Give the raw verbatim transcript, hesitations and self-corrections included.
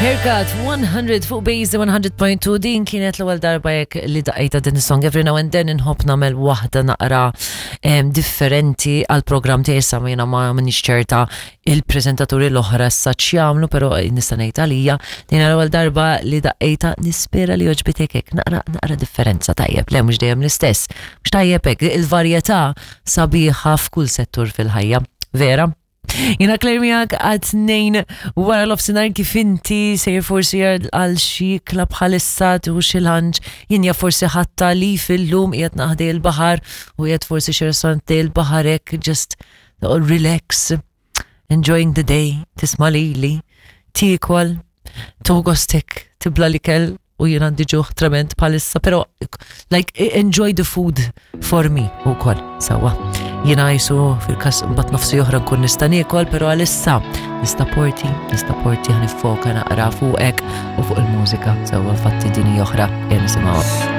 Haircut one hundred fuq Base one hundred point two. Din kienet l-ewwel darba jekk li daqqejta din is-song. Every now and then inħobb nagħmel waħda naqra em, differenti għal programm tiegħi. Issa jiena ma minix ċerta il-preżentaturi l-oħra issa x'jagħmlu, però nista' ngħid għalija din l-ewwel darba li daqqejta. Nispera li għoġbitek hekk naqra naqra differenza. Tajjeb, le, mhux dejjem l-istess. Mhux tajjeb hekk, il-varjetà sabiħa f'kull settur fil-ħajja. Vera? Jiena Claire miegħek għat-tnejn wara nofsinhar. Kif inti sejr forsi għal xi club bħalissa, tieħu xi lunch, jien ja forsi ħatta li fil-lum qiegħed naħdej il-baħar u qiegħed forsi xi restaurant il-baħar hekk, just relax, enjoying the day, tisma' lili, tiekol, tieħu gostek, tibla l-ikel u jien għandi ġuħ trement bħalissa, pero like enjoy the food for me u koll, sewwa. Jiena jisu fil-kas bat nofsi oħra nkun nista' niekol, pero għalissa nista' porti, nista' porti ħa niffoka naqra fuqek u fuq il-mużika, sewwa, fatti dini oħra jien nisimgħu.